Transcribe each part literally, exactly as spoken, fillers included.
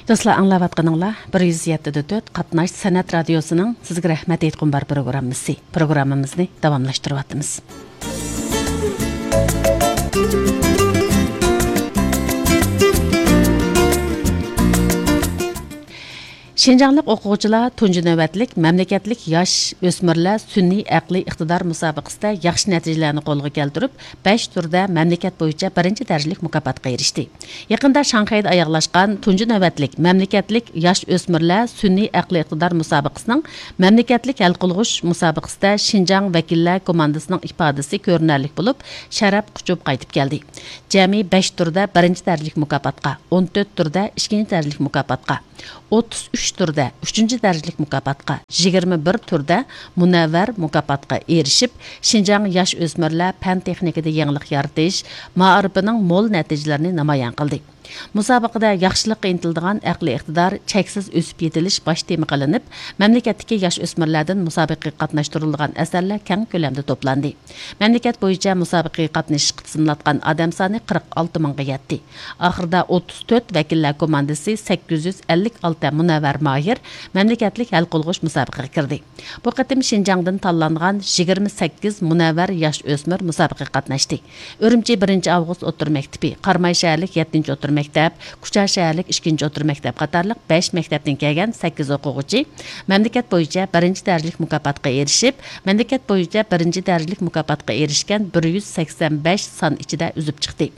دوستلار، ئاڭلاۋاتقىنىڭلار بىر يۈز يەتتە دە تۆت قاتناش سەنئەت رادىيوسىنىڭ سىزگە رەھمەت ئېيتقۇم بار پروگراممىسى. پروگراممىمىزنى داۋاملاشتۇرۇۋاتىمىز. شىنجاڭلىق ئوقۇغۇچىلار تۇنجى نۆۋەتلىك مەملىكەتلىك ياش ئۆسمۈرلەر سۈنئىي ئەقلىي ئىقتىدار مۇسابىقىسىدە ياخشى نەتىجىلەرنى قولغا كەلتۈرۈپ، بەش تۈردە مەملىكەت بويىچە بىرىنچى دەرىجىلىك مۇكاپاتقا ئېرىشتى. يېقىندا شاڭخەيدە ئاياغلاشقان تۇنجى نۆۋەتلىك مەملىكەتلىك ياش ئۆسمۈرلەر سۈنئىي ئەقلىي ئىقتىدار مۇسابىقىسىنىڭ مەملىكەتلىك ھەل قىلغۇچ مۇسابىقىسىدە شىنجاڭ ۋەكىللەر كوماندىسىنىڭ ئىپادىسى كۆرۈنەرلىك بولۇپ، شەرەپ قۇچۇپ قايتىپ كەلدى. جەمئىي بەش تۈردە بىرىنچى دەرىجىلىك مۇكاپاتقا، ئون تۆت تۈردە ئىككىنچى دەرىجىلىك مۇكاپاتقا، ئوتتۇز ئۈچ تۈردە ئۈچىنچى دەرىجىلىك مۇكاپاتقا، يىگىرمە بىر تۈردە مۇنەۋۋەر مۇكاپاتقا ئېرىشىپ، شىنجاڭ ياش ئۆسمۈرلەر پەن تېخنىكىدا يېڭىلىق يارىتىش مائارىپىنىڭ مول نەتىجىلىرىنى نامايان قىلدى. مۇسابىقىدە ياخشىلىققا ئىنتىلىدىغان ئەقلىي ئىقتىدار، چەكسىز ئۆسۈپ يېتىلىش باش تېما قىلىنىپ، مەملىكەتتىكى ياش ئۆسمۈرلەردىن مۇسابىقىگە قاتناشتۇرۇلىدىغان ئەسەرلەر كەڭ كۆلەمدە توپلاندى. مەملىكەت بويىچە مۇسابىقىگە قاتنىشىشقا تىزىملاتقان ئادەم سانى قىرىق ئالتە مىڭغا يەتتى. ئاخىرىدا ئوتتۇز تۆت ۋەكىللەر كوماندىسى، سەككىز يۈز ئەللىك ئالتە مۇنەۋۋەر ماھىر مەملىكەتلىك ھەل قىلغۇچ مۇسابىقىگە كىردى. بۇ قېتىم شىنجاڭدىن تاللانغان يىگىرمە سەككىز مۇنەۋۋەر ياش ئۆسمۈر مۇسابىقىگە قاتناشتى. ئۈرۈمچى بىرىنچى ئاۋغۇست ئوتتۇرا مەكتىپى، قاراماي شەھەرلىك يەتتىنچى ئوتتۇرا مەكتەپ، كۇچا شەھەرلىك ئىككىنچى ئوتتۇرا مەكتەپ قاتارلىق بەش مەكتەپتىن كەلگەن سەككىز ئوقۇغۇچى مەملىكەت بويىچە بىرىنچى دەرىجىلىك مۇكاپاتقا ئېرىشىپ، مەملىكەت بويىچە بىرىنچى دەرىجىلىك مۇكاپاتقا ئېرىشكەن بىر يۈز سەكسەن بەش سان ئىچىدە ئۈزۈپ چىقتى.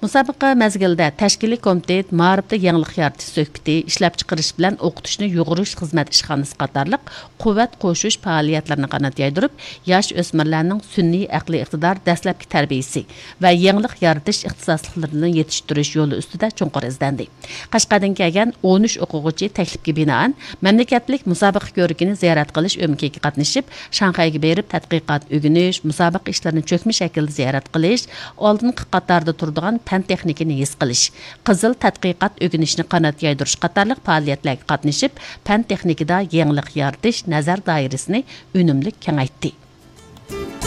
مۇسابىقە مەزگىلىدە تەشكىلىي كومىتېت مائارىپتا يېڭىلىق يارىتىش سۆھبىتى، ئىشلەپچىقىرىش بىلەن ئوقۇتۇشنى يۇغۇرۇش خىزمەت ئىشخانىسى قاتارلىق قۇۋۋەت قوشۇش پائالىيەتلىرىنى قانات يايدۇرۇپ، ياش ئۆسمۈرلەرنىڭ سۈنئىي ئەقلىي ئىقتىدار دەسلەپكى تەربىيىسى ۋە يېڭىلىق يارىتىش ئىختىساسلىقلىرىنى يېتىشتۈرۈش يولى ئۈستىدە چوڭقۇر ئىزدەندى. قەشقەردىن كەلگەن ئون ئۈچ ئوقۇغۇچى تەكلىپكە بىنائەن، مەملىكەتلىك مۇسابىقە كۆرىكىنى زىيارەت قىلىش ئۆمىكىگە قاتنىشىپ، شاڭخەيگە بېرىپ تەتقىقات ئۆگىنىش، مۇسابىقە ئىشلىرىنى چۆكمە شەكىلدە زىيارەت قىلىش، ئالدىنقى قاتاردا تۇرىدىغان پەن تېخنىكىنى ھېس قىلىش، قىزىل تەتقىقات ئۆگىنىشنى قانات يايدۇرۇش قاتارلىق پائالىيەتلەرگە قاتنىشىپ، پەن تېخنىكىدا يېڭىلىق يارىتىش نەزەر دائىرىسىنى ئۈنۈملۈك كېڭەيتتى.